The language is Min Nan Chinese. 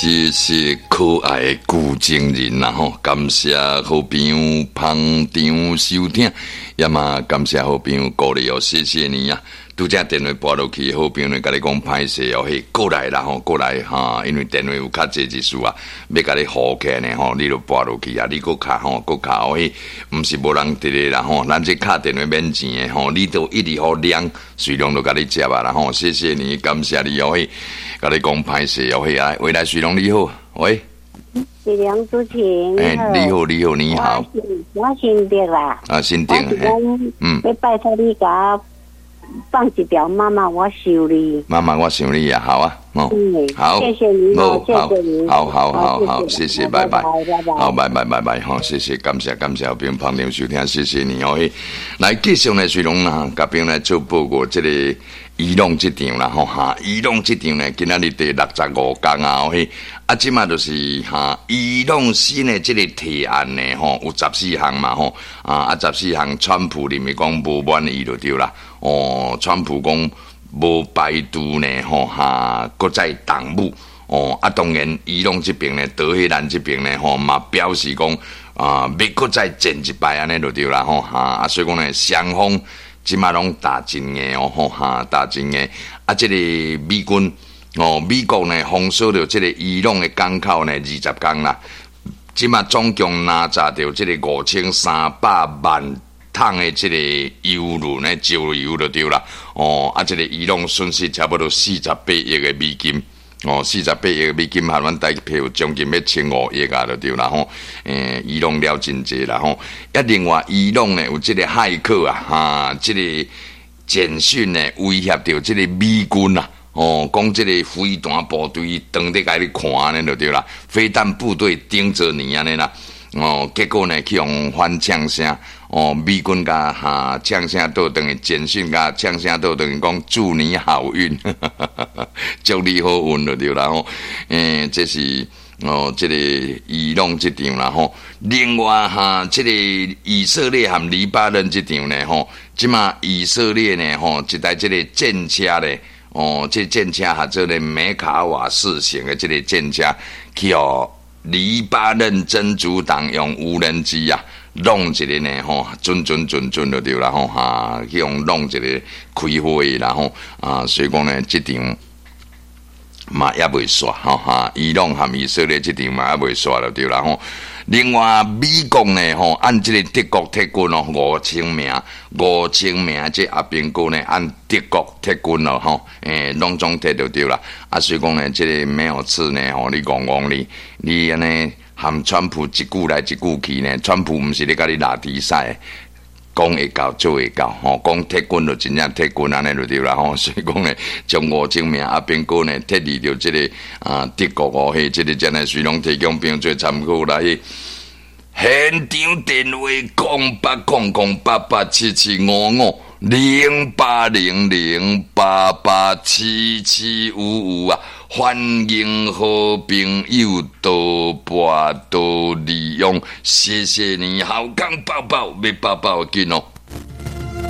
謝謝可愛的舊情人啦吼，感謝好朋友捧場收聽，也嘛感謝好朋友鼓勵哦，謝謝你啊！拄才電話撥落去，好朋友呢共你講歹勢哦，彼過來啦吼，過來哈，因為電話有較濟一絲啊，欲共你號起來呢吼，你就撥落去啊，你閣敲吼，閣敲哦，彼毋是無人佇咧啦吼，咱這敲電話免錢的吼，你都一直予亮，隨量就共你接啊啦吼，謝謝你，感謝你哦，彼共你講歹勢哦，彼啊，喂來，水龍你好，喂，水龍主持人，欸，你好，你好，你好，我姓鄭啦，啊，姓鄭，欲拜託你共我放一條媽媽我想你，媽媽我想你啊，好啊，哦，好，謝謝你，謝謝你，好好好好，謝謝，拜拜，好，拜拜拜拜，好，謝謝，感謝感謝，好朋友捧場收聽，謝謝你哦，來繼續呢，水龍啊，共朋友來做報告，這個伊朗這場啦，吼哈，伊朗這場呢，今仔日第65工啊，嘿，啊，這馬就是哈，伊朗新的這個提案呢，吼，有十四項嘛，吼，啊，十四項，川普認為講無滿意就對啦，哦，川普講無排除呢，吼哈，閣再動武，哦，啊，當然伊朗這邊呢，德黑蘭這邊呢，吼嘛表示講啊，欲閣再戰一擺按呢就對啦，吼哈，啊，所以講呢，雙方這馬攏打真硬哦，吼哈，打真硬，啊，這個美軍哦，美國呢封鎖著這個伊朗的港口呢20工啦，這馬總共拿炸著這個5300萬桶的這個油輪呢，石油就對啦，哦，啊，這個伊朗損失差不多四十八億的美金，哦，四十八億美金，合阮台幣有將近欲1500億啊，就對啦吼。欸，伊朗了真濟啦吼。啊，另外伊朗呢有這個駭客啊，哈，這個簡訊呢威脅著這個美軍啊，哦，講這個飛彈部隊當咧共你看按呢就對啦，飛彈部隊盯著你按呢啦。哦，結果呢去予反嗆聲，哦，美軍共哈嗆聲倒轉去，簡訊共嗆聲倒轉去，講祝你好運，祝你好運就對啦吼。欸，這是哦，這個伊朗這場啦吼。另外哈，這個以色列和黎巴嫩這場呢吼，這馬以色列呢吼，一台這個戰車咧，哦，這戰車號做咧梅卡瓦四型的這個戰車去予黎巴嫩真主黨用無人機啊，弄一個呢吼，準準準準就對啦吼，哈，去予弄一個開火啦吼，啊，所以講呢，這場嘛猶未煞吼哈，伊朗和以色列這場嘛猶未煞就對啦吼。另外，美國呢吼，按這個德國撤軍哦，五千名，五千名這阿兵哥呢，按德國撤軍咯吼，欸，攏總撤就對啦。啊，所以講呢，這個沒有刺呢吼，你戇戇你，你按呢含川普一句來一句去呢，川普毋是咧共你拉低賽，講會到做會到吼，講撤軍就真正撤軍按呢就對啦吼，所以講呢，將五千名阿兵哥呢撤離著這個啊德國哦，彼這個真係隨攏提供朋友做參考啦。現場電話0800887755，0800887755啊！歡迎好朋友多撥多利用，謝謝你，好康報報，欲報報緊哦。